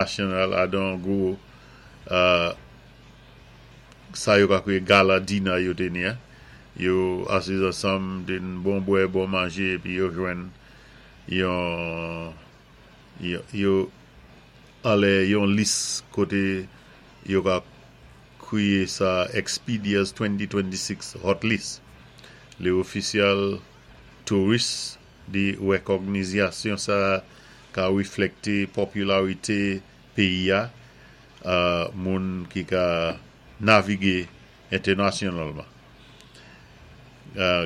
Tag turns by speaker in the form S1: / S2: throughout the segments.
S1: Nasyonal adan gwo sa yo ka kwiyé gala dinner yo té ni an. Yo asiz ansanm, té bon bwè, bon manjé, épi yo jwenn yon yo anlè yon lis koté yo ka kwiyé sa Expedia's 2026 Hot List. Lé ofisyal touris di wékògnizasyon sa ka wiflèkté pòpilarité péyi-a moun ki ka navigé entènasyonalman.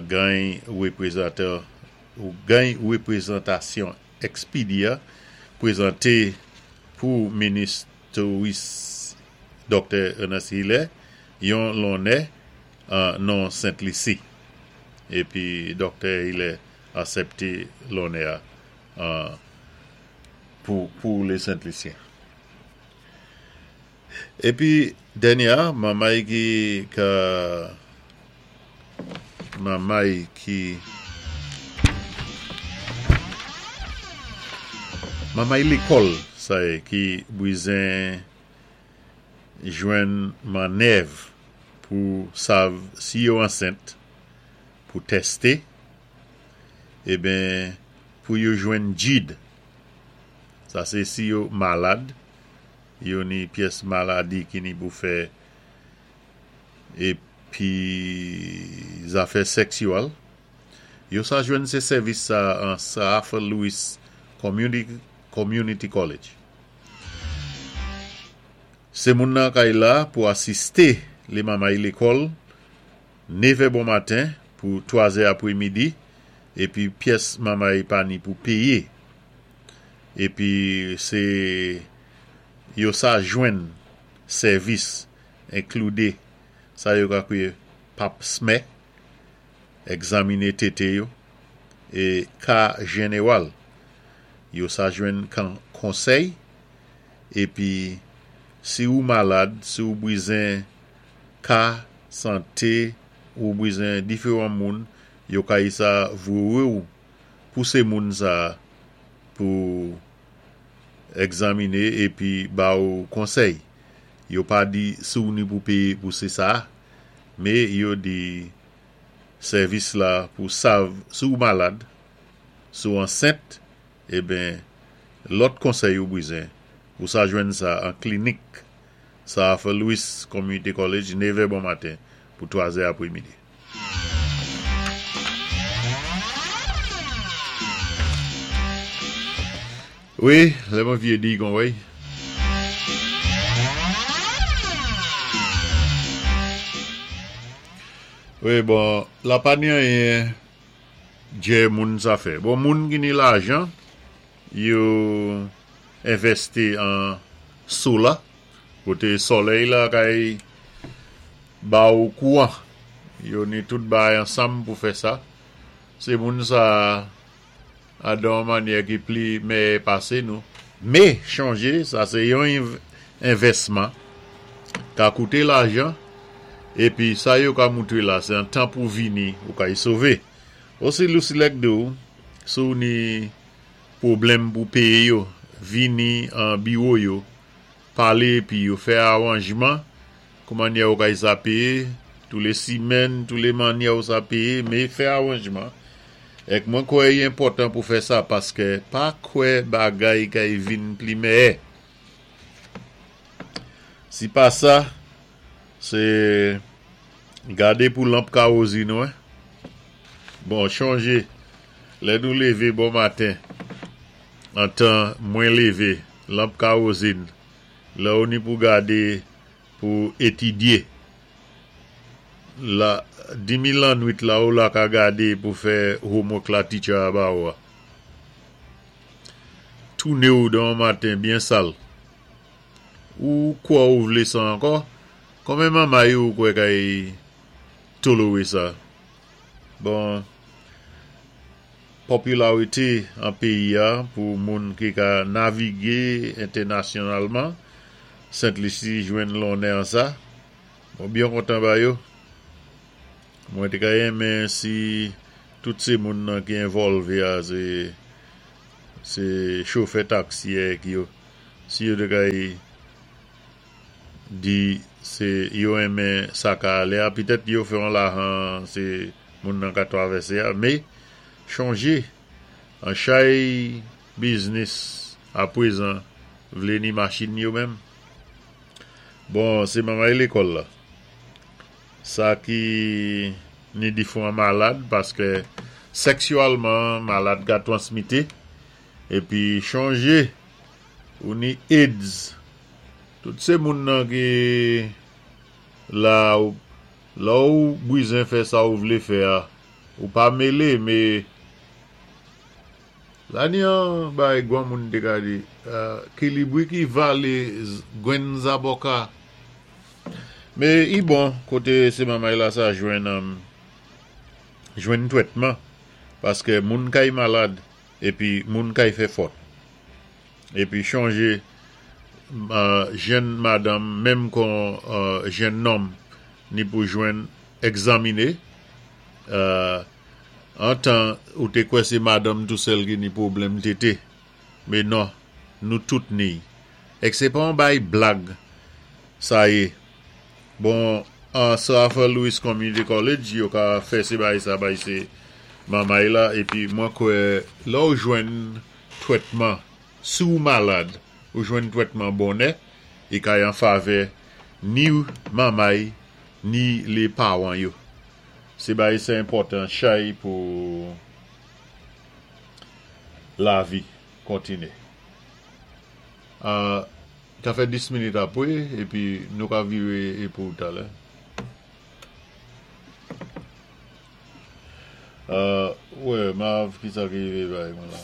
S1: Gany gany wépwézantasyon Expedia pwézanté pou minis touris Doktè Ernest Hilaire yon lonnè an non Sent Lisi. Épi Doktè Hilaire asèpté lonnè-a pou lé Sent Lisyen. Épi dènyé-a, manmay ki ka manmay ki manmay lékòl sa yé ki bwizen jwenn mannèv pou sav si yo ansent pou tèsté eben pou yo jwenn djid sa sé si yo malad yo ni pyès maladi ki ni pou fè épi zafè sèksyèl yo sa jwenn sé sèvis sa an Sir Arthur Lewis Community College. Sé moun nan kay la pou asisté lé manmay lékòl nevè bon maten pou twazè apwémidi épi pyès manmay pa ni pou péyé épi sé yo sa jwenn sèvis enkloudé sa yo ka kwiyé pap smè, ègzaminé tété yo é ka jenewal. Yo sa jwenn konsèy épi si ou malad, si ou bwizen ka santé ou bwizen diféwan moun yo kay sa voyé-w pousé moun sa pou ègzaminé épi ba-ou konsèy. Yo pa di si ou ni pou péyé pou sé sa, mé yo di sèvis la pou sav si ou malad, si ou ansent, eben lòt konsèy ou bwizen, ou sa jwenn sa an klinik Sir Arthur Lewis Community College nevè bon maten pou twazè apwémidi. Wi, lè mwen vyé di kon wèy. Wi, bon, la pa ni anyen djè moun sa fè. Bon, moun ki ni lajan, yo envèsti an sola, koté solèy la kay ba ou kouwan. Yo ni tout bagay ansanm pou fè sa. Sé moun sa a dan yon mannyè ki pli mèyè pasé nou. Mé chonjé sa sé yon envèsman ka kouté lajan épi sa yo ka moutré la sé an tan pou vini ou kay sové. Osi Lusilec di w si w ni pwoblèm pou péyé yo vini an biwo yo palé épi yo fè awanjman kou mannyè ou kay sa péyé tou lé simèn tou lé mannyè ou sa péyé mé fè awanjman èk mwen kwè i enpòtan pou fè sa paskè pa kwè bagay kay vin pli mèyè si pa sa sé gadé pou lanp kawozin ou hein bon chonjé lè nou lévé bon maten antan mwen lévé lanp kawozin lè ou ni pou gadé pou étidyé la dimi lannwit la ou la ka gadé pou fè homework la teacher a ba ou a touné ou dan yon maten byen sal ou kwè ou vlé sa ankò konbyen manmay ou kwè kay toléré sa bon pòpilarité an péyi-a pou moun ki ka navigé entènasyonalman Sent Lisi jwenn lonnè an sa mwen byen kontan ba yo mwen té ka renmen si tout sé moun nan ki envòlvé a sé sé chofè taksi èk yo. Si yo té kay di sé yo renmen sa ka alé a, pitèt yo fè on lajan sé moun nan ka twavèsé a, mé chonjé an chay biznis apwézan vlé ni machin yo menm. Bon, sé manmay lékòl la. Sa ki ni difwan malad paskè sèksyalman malad ka twansmité épi chonjé ou ni AIDS. Tout sé moun nan ki la lè ou bwizen fè sa ou vlé fè a ou pa mélé mé La ni an bagay gwanmoun té ka di, kilibri ki valé gwenn zaboka. Mé i bon koté sé manmay la sa jwenn jwenn twètman paskè moun kay malad épi moun kay fè fòt. Épi chonjé jenn madanm menm kon jenn nonm ni pou jwenn ègzaminé. Antan ou té kwè sé madanm tou sèl ki ni pwoblèm tété, mé non, nou tout ni. Èk sé pa on bay blag sa yé. Bon, an Sir Arthur Lewis Community College, yo ka fè sé bagay sa bay sé manmay la épi mwen kwè lè ou jwenn twètman, si ou malad, ou jwenn twètman bonnè, i kay an favè ni manmay ni lé pawan yo. Sé bagay sa enpòtan chay pou lavi kontiné. Ka fè 10 minit apwé épi nou ka viré pou talè. Wè, Marv, kisa ki rivé bay mwen la?